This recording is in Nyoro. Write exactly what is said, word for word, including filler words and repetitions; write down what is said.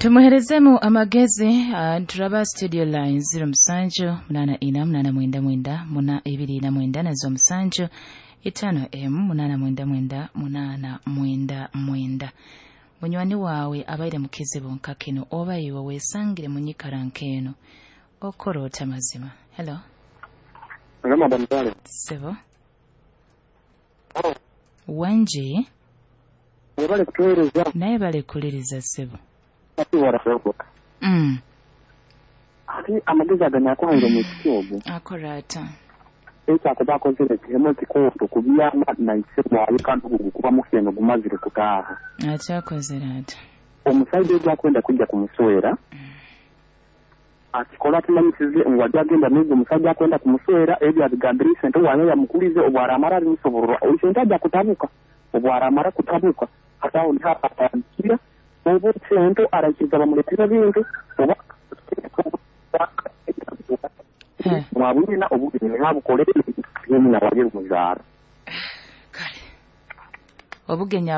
Tumuherezemu amagezi. uh, turaba studio line zero musanju munana ina munana mwenda mwenda muna ibiri na mwenda nazo musanju itano emu munana mwenda mwenda munana mwenda mwenda. Munywani wawe abaire mu kizibu nka kino oba iwe wesangire mu nyikara nk'eno, okora ota mazima? Hello. Hello, Madam Sale. Sebo. Wangi. Webale kutuweereza. Naye bale kuliriza sebo. Ati warasoboka. Mm. Ati amagezi aganyakuhaire mu kiti ogwo. Akora ata? Ekyakuba akozere kihemo kikooto kubyama naise bwawe kandi ogwo gukuba mukyeno gumazire kutaaha. Akyakozere ata? Omusaija ogu akwenda kujja kumuswera akikola atumanyisize ngu ajja agenda n'ogwo omusajja akwenda kumuswera ebyo abigambire isente wayo yamukulize obwaramara abimusoborora isente ajja kutabuka obwaramara kutabuka hati aho niho atandikira oba sente araikiriza bamuleetera bintu oba Eh. mwabwina obugeni nhabukolere nyina waje muzaara. Kale obugenyi.